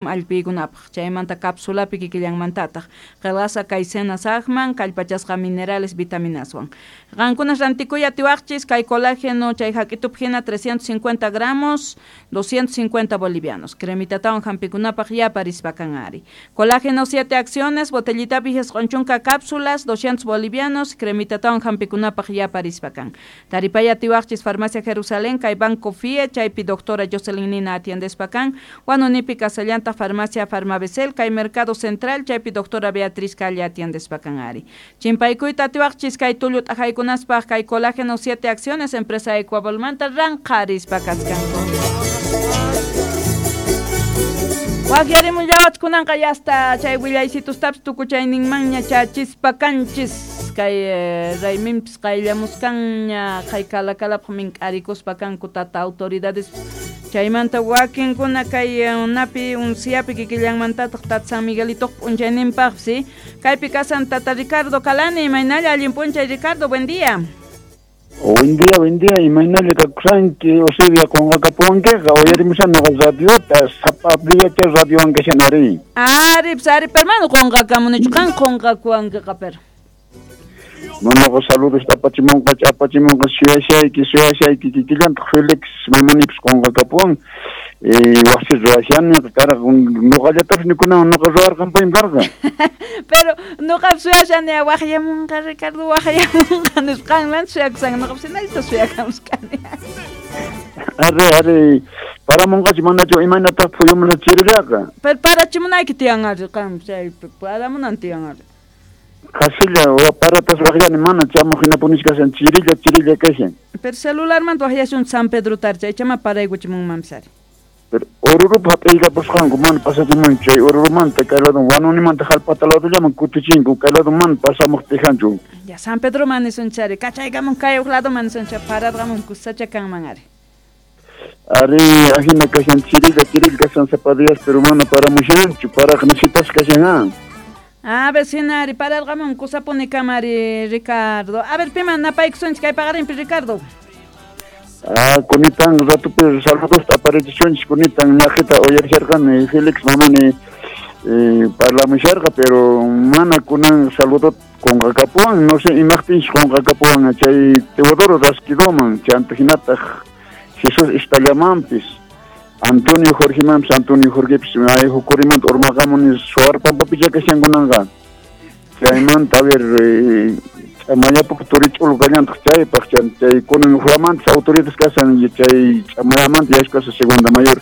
Allpiykunapaq chaymanta capsulapi kikillanmantataq qillqasqa kay cena saqman kallpachasqa minerales vitaminaswan. Qamkunas rantikuy atiwaqchis kay colágeno chay hak'itupi hina 350 gramos 250 bolivianos. Cremitatawan hampikunapaq yaparispa kan ari. Colágeno 7 acciones, botellitapi 90 cápsulas, 200 bolivianos, cremitatawan hampikunapaq yaparispa kan. Taripay atiwaqchis Farmacia Jerusalén kay Banco FIE chaypi doctora Jocelyn Nina atiendespa kan. Huanunipi kasallantaq Farmacia Farmabesel kay Mercado Central chaypi doctora Beatriz Calle atiendespa kan ari. Chimpaykuyta atiwaqchis kay tullu t'aqaykunaspaq kay colágeno 7 acciones empresa Ecuabolmanta ranqarispa kaskanku. Waqyarimullawach kunanqa yasta chay willaysitustapis tukuchayninmanña chachispa kanchis kay rayminpis qayllamuskanña kay kalakalapaq mink'arikuspa kanku tata autoridades chaymanta wakinkuna kay napi unsiapi kikillanmantataq tata San Miguelitoq p'unchayninpaqpis kaypi kasan tata Ricardo Calani, imaynalla allin p'unchay Ricardo, buen día. Buen día, imaynalla kakusanki, Eusebia qunqakapuwankiqa, uyarimushan nuqa radiota, sapa diacha radiowan kashan ari. Ari, pues ari, pero mana qunqakamunichu, qan qunqakuwankiqa pero. Nuqa saludos apachimunqa, apachimunqa, suyashayki, kikillantaq Felix mamanipis qunqakapuwan, wasi ruwashani, karqa, nuqallatapis nikunawan nuqa ruwarqanpaymi karqa. Pero nuqa suyashani waqyamunqa Ricardo, waqyamunqa nisqanman suyakusan, nuqapis hinallata suyakamuskani. Ari, paramunqachu manachu imaynataq phuyumuna chirillaqa. Pero parachimunayki tiyan ari, qam chay paramunan tiyan ari. Qasilla paratas waqyani mana chamuq hinapunis kashan, chirilla kashan. Pero celularmanta waqyasun San Pedro tarcha, ichama paraykuchimunmanpis ari. Pero Orurupa hap'iyllapusqanku mana pasachimun chay Orurumanta kay lado Huanunimanta Jalpata ladollaman kutichinku kay lado mana pasamuq tijanchu. Ya San Pedro man nisunchari, kachaykamun kay huk lado man nisuncha pararqamun kusacha kanman ari. Ari, ahina kashan chirilla kashan sapa días, pero mana paramushanchu, paraq nisitas kashan ah. A ver, sinari, pararqamun kusapuni kamari Ricardo. A ver, piman napaykusunchik kay paqarinpi Ricardo. Ah, kunitan ratupi saludos aparichisunchik kunitan ñaqita uyarisharqani Felix mamani parlamusharqa, pero mana kunan saludo qunqakapuwan, no sé imaqtinchik qunqakapuwan chay Teodoro Rasquidoman, chanta hinataq Jesús Istallamanpis, Antonio Jorgemanpis, Antonio Jorgepis, ay hukurimanta urmaqamuni suwarpampapicha kashan kunanqa. Chaymanta, a ver, Ch'amayapaq turich'ulu kallantaq chaypaq, chay kunan huamantas autoridades kasan chay Ch'amayamanta yashkasa segunda mayor.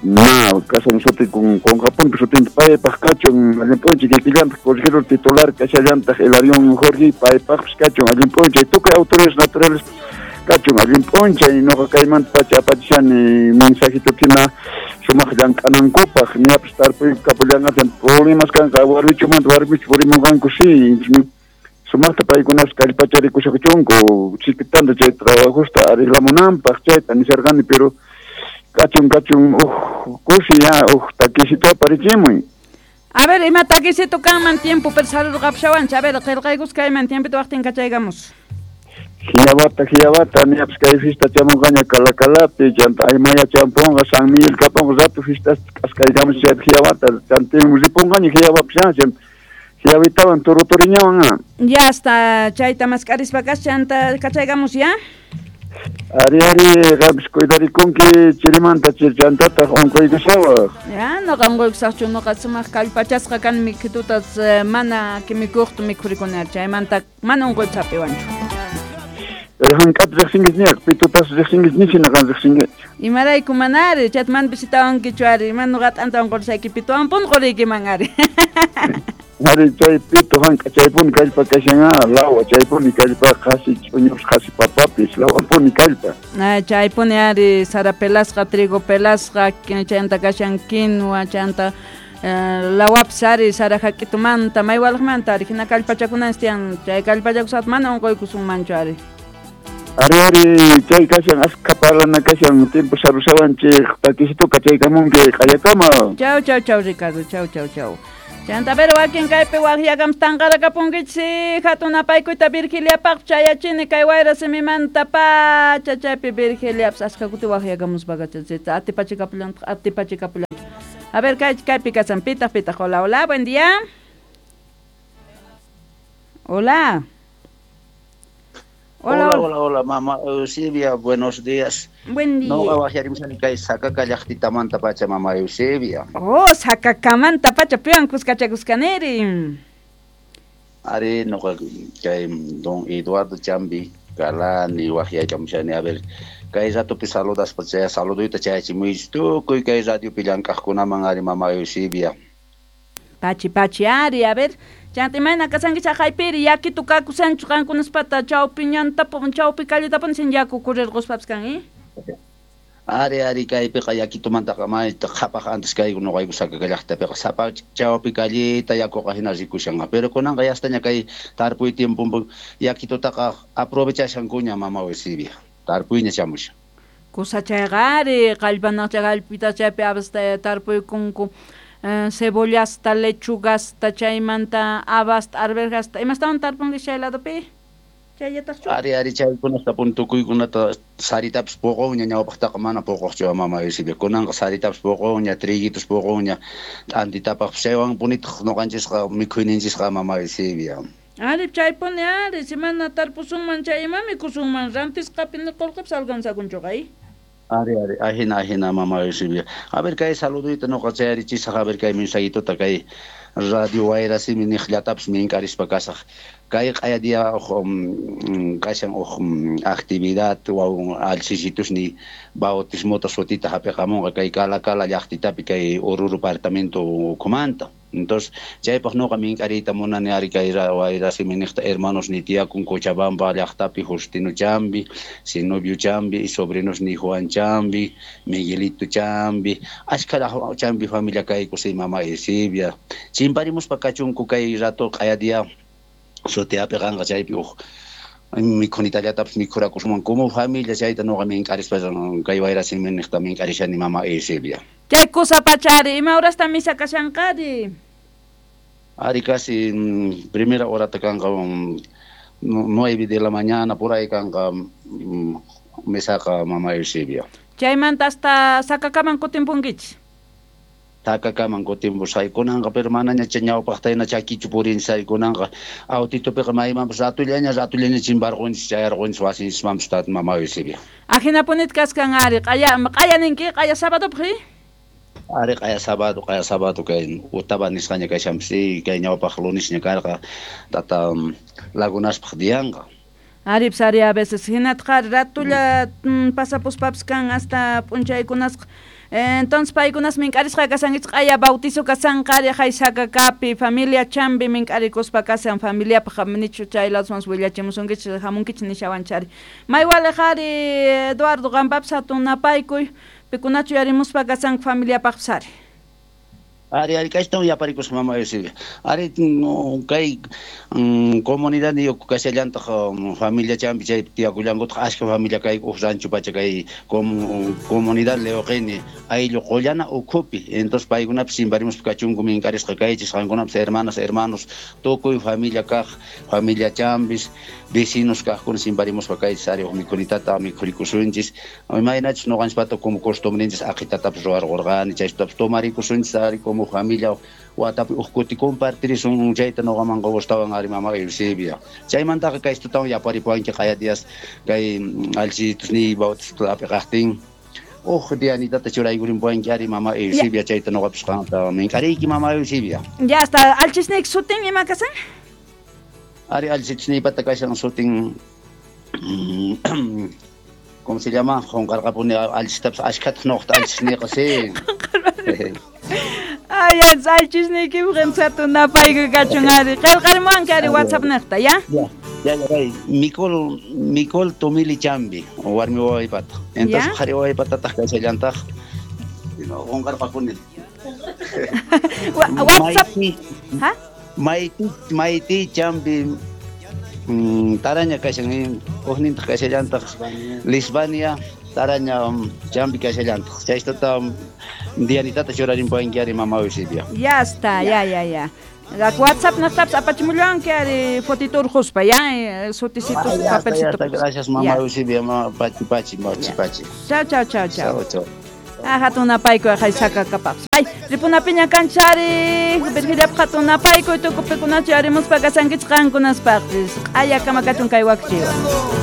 Na, kasan suti qunqapunpi sutinta paypaq kachun allin p'unchay kikillantaq corregidor titular kashallantaq Hilarión Jorge paypaqpis kachun allin p'unchay tukuy autoridades naturales kachun allin p'unchay nuqa kaymanta pacha apachishani mensajito hina sumaq llank'anankupaq ñapis tarpuy kapullanqacha problemas kanqa warmichumanta warmichu purimunqanku sí sumaqta paykunas kallpacharikusaqchunku chikitanta chay trabajosta arreglamunanpaq chayta nisharqani pero kachun uj kusi ya uj takisito aparichimuy. A ver, ima takisito kanman tiempo pero sarurqapushawanchik, a ver, qillqaykus kayman tiempito waqtin kachaykamos. Hiyawata, ñapis kay fiesta chamunqaña Calacalapi, chanta Aymaya champunqa, San Miguel kapunqa, rato fiestas k'askaykamus chaypi hiyawata, chantin ripunqaña hiyawapis hiyawitawan turuturiñawan. Ya hasta chayta mask'arispa kas chanta kachaykamus ya. Ari, qampis cuidarikunki chirimanta chirchantataq unquykusawaq. Ya, nuqa unquykusaqchu, nuqa sumaq kallpachasqa kani mikhitutas mana kimikuqta mikhurikuni chaymanta mana unquypis hap'iwanchu. Pero hank'ata riqsinkichu ñaq, pitutas riqsinkichu nichina qan riqsinkichu. Imarayku manari, chayta mana visitawankichu ari, mana nuqa t'anta unqurusayki pituwanpuni quriykiman ari. Ari chay pitu hank'a chaypuni kallpa kashan lawa chaypuni kallpa qasi ch'uñupis qasi papapis lawapuni kallpa. Chaypuni ari sara pelasqa, trigo pelasqa, chayanta kashan quinua, chayanta lawapis ari sara hak'itumanta, maywalaqmanta ari hina kallpachakunanchis tiyan, chay kallpachakusaqta mana unquykusunmanchu ari. Ari, chay kashan askha parlana kashan tiempo sarushawanchik takisituka chaykamunki qallakama. Chau, Ricardo, chau. Chanta pero wakin kaypi waqyakam tanqarakapunkichik hatun apaykuyta Virgiliapaq chayachini kay wayra simimanta pacha chaypi Virgiliapas askha kuti waqyakamuspaqa atipachikapullantaq A ver, kaypi kasan, pitaq, pitaq. Hola, hola, buen día. Hola. Hola, hola, hola, mamá Eusebia, buenos días. Buen día. No, wahyarimusani kay Sakaka llaqtitamanta pacha, mamá Eusebia. Oh, Sakakamanta pacha, piwan kuskachakuskaniri. Ari, noqa kay don Eduardo Chambi, Galani, wahyaykamushani, a ver, kay ratopi saludaspa chay saluduyta chayachimuychis tukuy kay radiopi llank'aqkunaman ari, mamá Eusebia. Pachi, pachi, ari, a ver, chanta imayna kasanki chaqaypiri, yakitu kakusanchu qankunaspata chawpi ñantapun, chawpi calletapun sin yaku kurirquspapas kan, eh? Ari, ari, kaypiqa yakitumantaqa mayta qhapaq antes kayku noqayku Sakaka llaqtapiqa sapa chawpi calleta yakuqa hina rikushanqa, pero kunanqa yastaña kay tarpuy tiempompi yakitutaqa aprovechashankuña mama Eusebia, tarpuyña chamushan. Kusa chayqa ari, qallpanaqcha qallpita chaypi habasta tarpuykunku, cebollasta, lechugasta, chaymanta habasta, arberjasta, imastawan tarpunki chay ladopi? Chayataqchu? Ari, ari, chaykunata pun tukuykunata saritapas puqunña, ñawpaqtaqa mana puquqchu mama Eusebia, kunanqa saritapas puqunña, triguitos puqunña, t'antitapaqpas chaywan punitaq noqanchisqa mikhuyninchisqa mama Eusebia. Ari, chaypuni ari, si mana tarpusunman chay ima mikusunman, rantisqapi ni qullqipas alcanzakunchuqa, eh? Ari, ari, ajina, ajina, mama Eusebia. A ver, kay saluduyta noqa chayarichisaq, a ver, kay mensajituta, kay radio Wayrasimi niqllatapas minkarispa kasaq. Kay q'aya día uj kashan uj actividad waw alchisitusni bautismota sutita hap'iqamunqa kay Cala Cala llaqtitapi kay Oruro departamento ukhumanta. Entonces, chaypaq noqa mink'ariyta munani ari kay Wayrasimi niqta hermanos ni tiyakun Cochabamba llaqtapi Justino Chambi, Zenobio Chambi, y sobrinos ni Juan Chambi, Miguelito Chambi, ashkha Chambi familia kayku si mama Eusebia. Chimparimuspa kachunku kay rato q'aya día suti hap'iqanqa chaypi uj mikhunitallatapas mikhurakusunman como familia chayta noqa mink'arispa kay Wayrasimi niqta mink'arishani mama Eusebia. Chay kusa pachari, ima horasta misa kashanqari? Ari casi primera horata kanqa 9 de la mañana por ahí kanqa misaqa mama Eusebia. Chaymanta hasta Sakakaman kutimpunkichis? Sakakaman kutimpusay kunanqa, pero manaña chay ñawpaqta hina chakichu purinsay kunanqa autitupiqa maymanpas ratullaña ratullaña chimparqunchis chayarqunchis wasinchismanpas tata mama Eusebia. Ajinapunit kaskan ari, q'aya q'aya ninki, q'aya sabadopaq, eh? Ari q'aya sábado kay utaba nisqaña kashanpas, kay ñawpaq lunesña karqa tata lagunaspaq dianqa. Ari, pues, ari, a veces hinatqa ratulla pasapuspapas kan hasta p'unchaykunasqa. Entonces paykunas mink'arisqa kasankichis q'aya bautizo kasanqa ari hay Sakakapi familia Chambi mink'arikuspa kasan familiapaq nichu chay ladosman willachimusunkichis hamunkichis nishawanchari. Maywaliq ari Eduardo qanpapas hatun napaykuy pikunachu yarimuspa kasanku familiapaqpas ari. Ari, ari, kaytawan yaparikusqa mama Eusebia. Ari, kay comunidad niyuq kashallantaq familia Chambi chaypi tiyakullankutaq ashka familia kay uj rancho pacha kay comunidad Leoqini ayllu qullana ukhupi. Entonces paykunapas chimparimuspa kachunku mink'arisqa kaychis qankunapas hermanas, hermanos, tukuy familia kaq, familia Chambis, vecinos kaqkuna chimparimuspa kaychis ari uj mikhunitata mikhurikusunchis. Imaynachus noqanchispata como costumbrenchis aqhitatapas ruwarqurqani, chaytapas tomarikusunchis ari como familia watapi uj kuti compartirisun chayta noqamanqa gustawan ari mama Eusebia. Chaymantaqa kaystutawan yaparipuwanki q'aya días kay alchitusniy bautizota hap'iqaqtin uj dianitata churaykurinpuwanki ari mama Eusebia chayta noqapas qanta mink'ariyki mama Eusebia. Ya hasta alchisniyki sutin ima kasan? Ari alchisniypata kashan sutin ¿cómo se llama? Qunqarqapuni alchitapas ashkhataq noqta alchisniyqa sí. Ay, alchisniykipi hatun napaykuy kachun ari. Qillqarimuwanki ari WhatsApp niqta, ya? Ya, ya, ya. Micol, Micol Tumili Chambi, warmi wawaypata. Entonces qhari wawaypatataq kashallantaq qunqarqapuni. WhatsApp. Ha? Maiti, Maiti Chambi taraña kashan, ujnintaq kashallantaq Lisbania taraña Chambi kashallantaq. Chaystata dianitata churarinpuwanki ari mama Eusebia. Ya está, ya, ya, ya. WhatsApp naqtapas apachimullanki ari fotito urquspa, ya, sutisitos, papelcitos. Gracias mama Eusebia, pachi, pachi, pachi, pachi. Chao, chao, chao, chao. Chao, chao. Hatun napaykuy haysakakapaqpas. Ay, ripunapiña kanchari, Virgiliapaq hatun napaykuy tukupikunachu yarimuspa kasankichik qankunaspaqpis. Q'aya kama kachun kay wakchiwa.